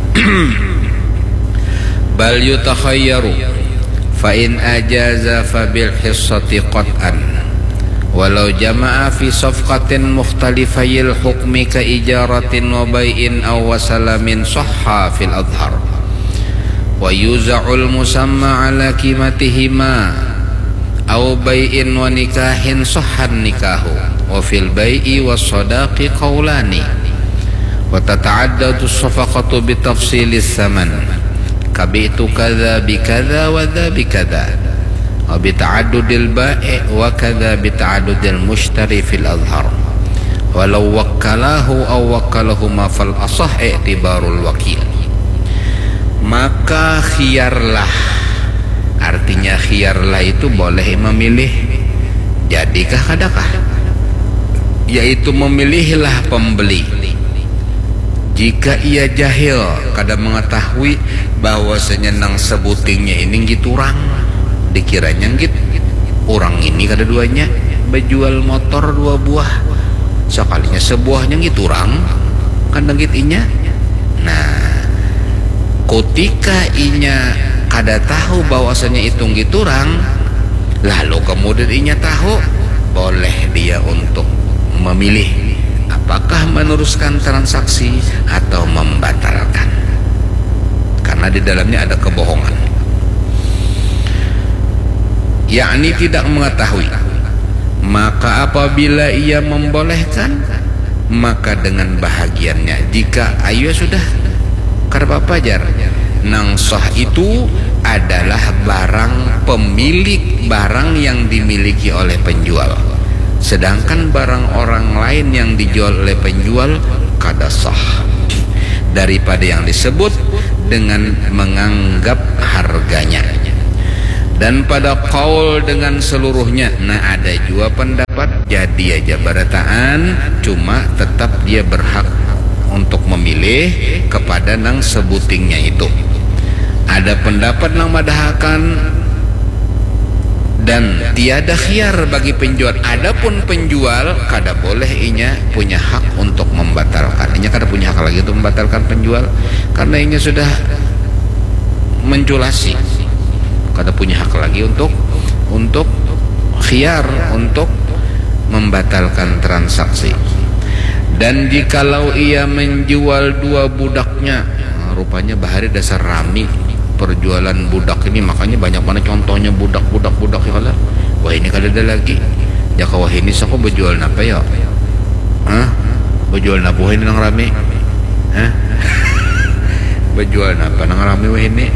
Bal yutakhayyaru, fa in ajaza fa bil hissati qat'an. Walau jama'a fi safqatin mukhtalifayil hukmi ka ijaratin wa bai'in aw wasalamin sahha fil azhar. Wa yuza'ul musamma ala qimatihima aw bai'in wa nikahin sahhan nikahu. Wa fil bai'i was sadaqi qaulani. Wa tata'addadu safaqatu bi tafsilis saman. Kabi'tu kadza bi kadza wa dza bi kadza. Wa bi ta'addudil ba'i' wa kadza bi ta'addudil mushtari fil azhar. Walau wakkalahu aw wakkalahuma fal asah i'tibarul wakil. Maka khiyarlah. Artinya khiyarlah itu boleh memilih jadikah kadakah. Yaitu memilihlah pembeli. Jika ia jahil, kada mengetahui bahwasanya nang sebutingnya ini nggit urang, dikiranya nggit urang ini kada duanya, bejual motor dua buah, sekalinya sebuahnya nggit urang, kada nggit inya. Nah, kutika inya kada tahu bahwasanya itu nggit urang, lalu kemudian inya tahu, boleh dia untuk memilih apakah meneruskan transaksi atau membatalkan. Karena di dalamnya ada kebohongan. Yakni tidak mengetahui. Maka apabila ia membolehkan, maka dengan bahagiannya. Jika, ayo sudah, kada apa-apa jar. Nang sah itu adalah barang pemilik barang yang dimiliki oleh penjual. Sedangkan barang orang lain yang dijual oleh penjual kada sah daripada yang disebut dengan menganggap harganya. Dan pada kaul dengan seluruhnya, nah, ada jua pendapat jadi aja barataan, cuma tetap dia berhak untuk memilih kepada nang sebutingnya itu. Ada pendapat nang madahakan dan tiada khiyar bagi penjual. Adapun penjual kada boleh inya punya hak untuk membatalkan. Inya kada punya hak lagi untuk membatalkan penjual karena inya sudah menculasi. Kada punya hak lagi untuk untuk khiyar untuk membatalkan transaksi. Dan jikalau ia menjual dua budaknya, nah, rupanya bahari dasar rami perjualan budak ini, makanya banyak mana contohnya budak, budak, budak ya kala. Wah, ini kada ada lagi. Jaka wah ini sako bejual napa ya? Hah? Bejual napa wah ini nang rami? Hah? Bejual napa nang rami wah ini?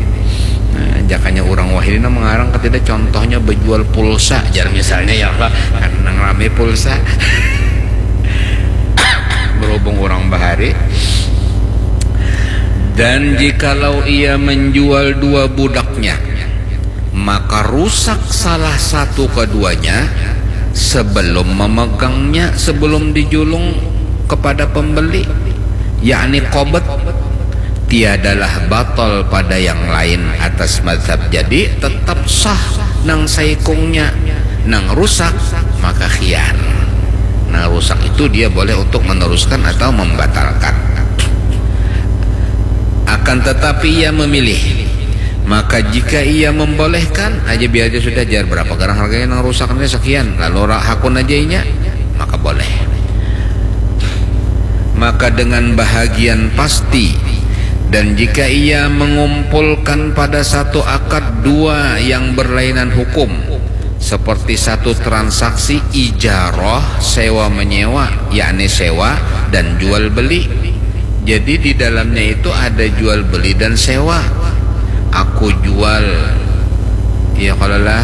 Nah, jakanya urang wah ini nang mengarang ketida, contohnya bejual pulsa, jar misalnya ya, kan nang rami pulsa. Berhubung urang bahari. Dan jikalau ia menjual dua budaknya, maka rusak salah satu keduanya sebelum memegangnya, sebelum dijulung kepada pembeli, yakni qobet. Tiadalah batal pada yang lain atas mazhab. Jadi tetap sah nang saikungnya. Nang rusak maka khiar. Nang rusak itu dia boleh untuk meneruskan atau membatalkan. Akan tetapi ia memilih. Maka jika ia membolehkan, aja biar aja sudah, jar berapa garang harganya nang rusak ini sekian, lalu ra-, hakun aja inya, maka boleh. Maka dengan bahagian pasti, dan jika ia mengumpulkan pada satu akad dua yang berlainan hukum, seperti satu transaksi ijarah, sewa menyewa, yakni sewa dan jual beli. Jadi di dalamnya itu ada jual beli dan sewa. Aku jual, ya kalau lah,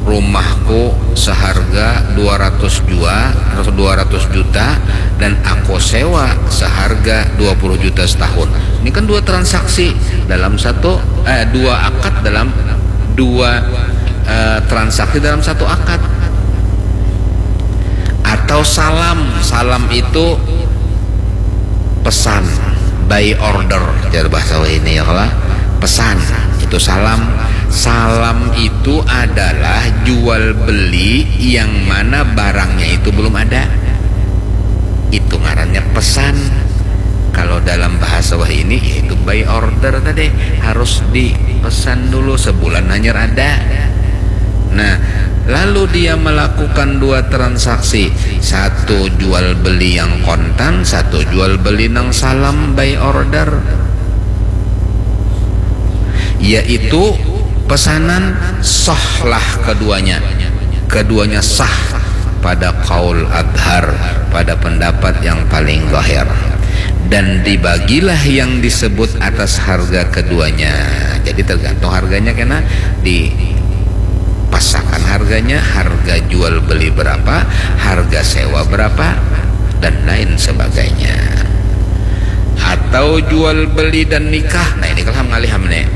rumahku seharga dua ratus jua, dua ratus juta, dan aku sewa seharga dua puluh juta setahun. Ini kan dua transaksi dalam satu, eh, dua akad dalam dua, eh, transaksi dalam satu akad. Atau salam, salam itu pesan, buy order, jar bahasa ini ya kalau pesan itu salam. Salam itu adalah jual beli yang mana barangnya itu belum ada. Itu ngarannya pesan. Kalau dalam bahasa wah ini, yaitu buy order tadi, harus dipesan dulu sebulan hanyar ada. Nah, lalu dia melakukan dua transaksi, satu jual beli yang kontan, satu jual beli nang salam buy order, yaitu pesanan sahlah keduanya. Keduanya sah pada kaul adhar, pada pendapat yang paling zahir. Dan dibagilah yang disebut atas harga keduanya. Jadi tergantung harganya kena dipasakan harganya, harga jual beli berapa, harga sewa berapa, dan lain sebagainya. Atau jual beli dan nikah. Nah, ini kalau ham ngalih ham nih.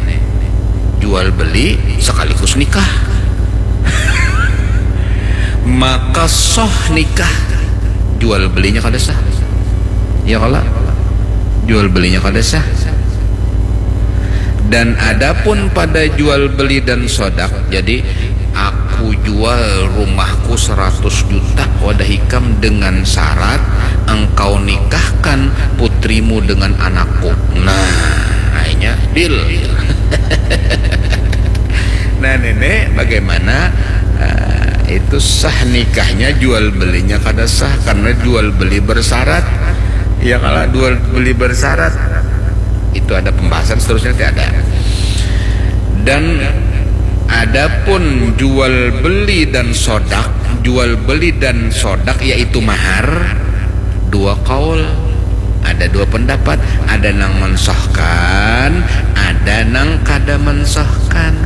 Jual beli sekaligus nikah. Maka sah nikah. Jual belinya kada sah. Ya kalau jual belinya kada sah. Dan adapun pada jual beli dan sodak, jadi aku jual rumahku seratus juta wadah ikam dengan syarat engkau nikahkan putrimu dengan anakku. Nah, akhirnya deal. Nah, nenek, bagaimana, eh, itu sah nikahnya, jual belinya kada sah karena jual beli bersyarat. Ya kalau jual beli bersyarat, itu ada pembahasan seterusnya, tidak ada. Dan adapun jual beli dan sodak, jual beli dan sodak yaitu mahar, dua kaul, ada dua pendapat, ada nang mensahkan, ada nang kada mensahkan.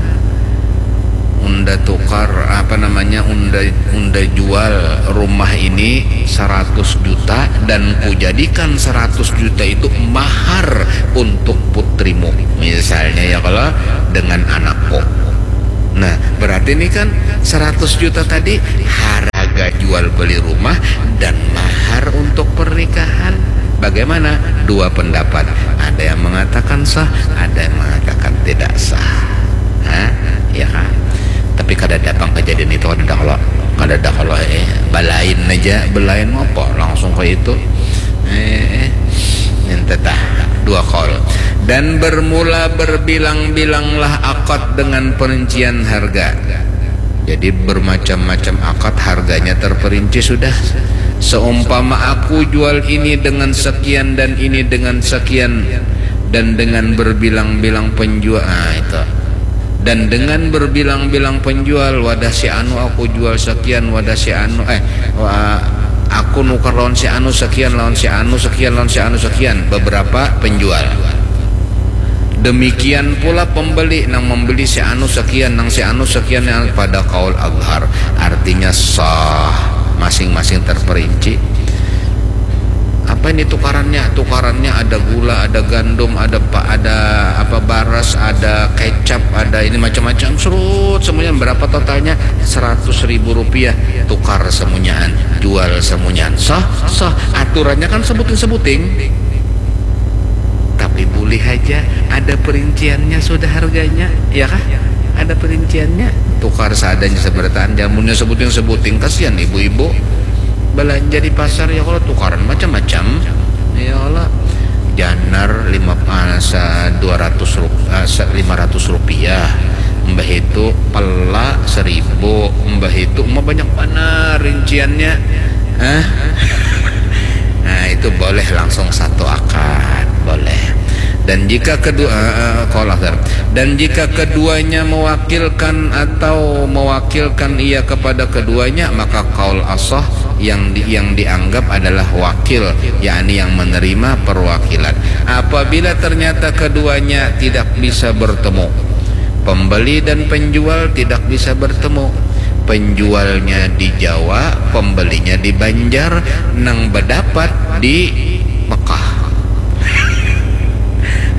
Unda tukar, apa namanya, unda unda jual rumah ini seratus juta dan kujadikan seratus juta itu mahar untuk putrimu, misalnya ya kalau, dengan anakku. Nah, berarti ini kan seratus juta tadi harga jual beli rumah dan mahar untuk pernikahan. Bagaimana? Dua pendapat. Ada yang mengatakan sah, ada yang mengatakan tidak sah. Hah? Ya kan? Tapi kada datang kejadian itu, kada kalau, kada ada kalau, eh, balain aja, balain apa langsung ke itu. Eh, eh. Yang tetah dua kaul. Dan bermula berbilang-bilanglah akad dengan perincian harga. Jadi bermacam-macam akad, harganya terperinci sudah. Seumpama aku jual ini dengan sekian dan ini dengan sekian dan dengan berbilang-bilang penjual, ah, itu. Dan dengan berbilang-bilang penjual, wadah si anu aku jual sekian, wadah si anu, eh, wa-, aku nukar lawan si anu sekian, lawan si anu sekian, lawan si anu sekian, beberapa penjual. Demikian pula pembeli, nang membeli si anu sekian, nang si anu sekian, yang pada kaul azhar, artinya sah, masing-masing terperinci. Apa ini tukarannya? Tukarannya ada gula, ada gandum, ada pa-, ada apa, baras, ada kecap, ada ini macam-macam, serut semuanya. Berapa totalnya? Seratus ribu rupiah. Tukar semunyaan, jual semunyaan. Sah, sah. Aturannya kan sebuting-sebuting. Tapi bulih haja, ada perinciannya sudah harganya, ya kah? Ada perinciannya. Tukar seadanya sabarataan, jamunnya sebuting-sebuting, kasihan ibu-ibu. Belanja di pasar, ya kalo, tukaran macam-macam. Ya kalo, janar lima, ah, sa-, dua ratus rup-, ah, sa-, lima ratus rupiah. Mbah itu pela seribu, mbah itu mah banyak banar rinciannya. Hah? Nah, itu boleh langsung satu akad, boleh. Dan jika kedua, eh, eh, qaul akhir. Dan jika keduanya mewakilkan atau mewakilkan ia kepada keduanya, maka qaul asah yang di-, yang dianggap adalah wakil, yakni yang menerima perwakilan. Apabila ternyata keduanya tidak bisa bertemu, pembeli dan penjual tidak bisa bertemu. Penjualnya di Jawa, pembelinya di Banjar, nang bedapat di Mekah.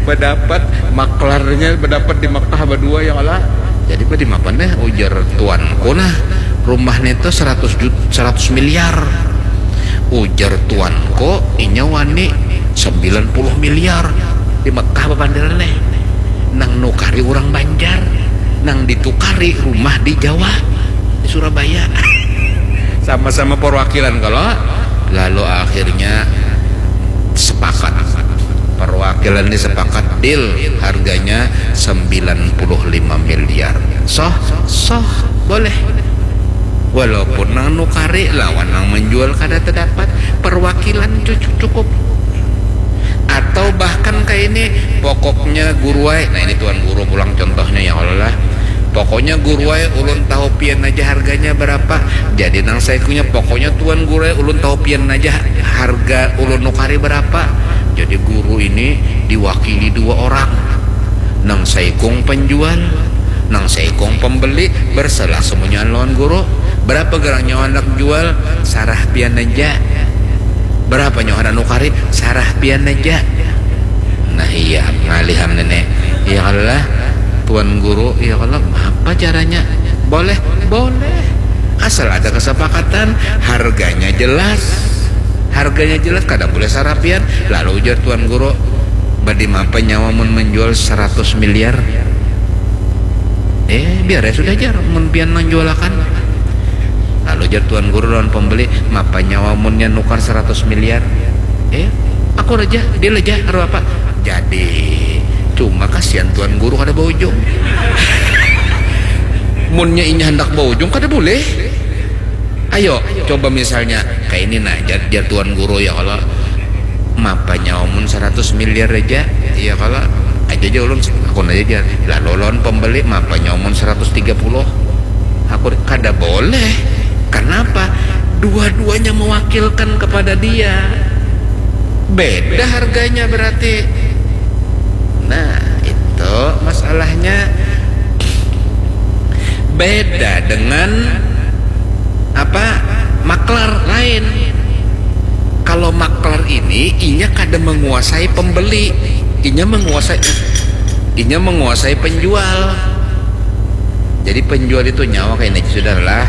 Bedapat, maklarnya bedapat di Mekah badua, ya kalo. Jadi, badi mapa nih, ujar tuanku, nah, rumah nih tuh seratus juta, seratus miliar. Ujar tuanku, inya wani sembilan puluh miliar di Mekah bapandiran nih. Nang nukari urang Banjar, nang ditukari rumah di Jawa, di Surabaya. Sama-sama perwakilan kalo. Lalu akhirnya sepakat. Perwakilan ini sepakat deal harganya sembilan puluh lima miliar. Soh, soh, boleh. Walaupun nang nukari lawan nang menjual kada terdapat, perwakilan cu-, cukup. Atau bahkan kayak ini, pokoknya guru ai, nah, ini tuan guru pulang contohnya, ya Allah lah. Pokoknya guru ai, ulun tahu pian aja harganya berapa. Jadi nang saikungnya, pokoknya tuan guru ai, ulun tahu pian aja harga ulun nukari berapa. Jadi guru ini diwakili dua orang. Nang saikung penjual, nang saikung pembeli, berselah semuanya lawan guru. Berapa gerang nyawa handak jual, sarah pian aja. Berapa nyawa handak nukari, sarah pian aja. Nah, iya, ngalih am nenek. Ya Allah, tuan guru, ya Allah, apa caranya? Boleh, boleh. Asal ada kesepakatan, harganya jelas. Harganya jelas, kada boleh sarah pian. Lalu ujar tuan guru, badi mapa nyawa mun menjual seratus miliar? Eh, biar ya sudah, jar, mun pian nang jualakan. Lalu jar tuan guru lawan pembeli, mapa nyawa munnya nukar seratus miliar? Eh, aku raja, dia raja, aru apa? Jadi, cuma kasihan tuan guru kada baujung. Munnya inya handak baujung, kada boleh. Ayo, coba misalnya, kayak ini nah, jar, jar tuan guru, ya Allah, mapa nyawa mun seratus miliar aja, ya kalau aja aja ulun, aku aja, jar. Lalu lawan pembeli, mapa nyawa mun seratus tiga puluh? Aku, kada boleh. Kenapa? Dua-duanya mewakilkan kepada dia. Beda harganya berarti. Nah, itu masalahnya. Beda dengan apa, maklar lain. Kalau maklar ini, inya kada menguasai pembeli, inya menguasai, inya menguasai penjual. Jadi penjual itu nyawa kayak ini, sudahlah.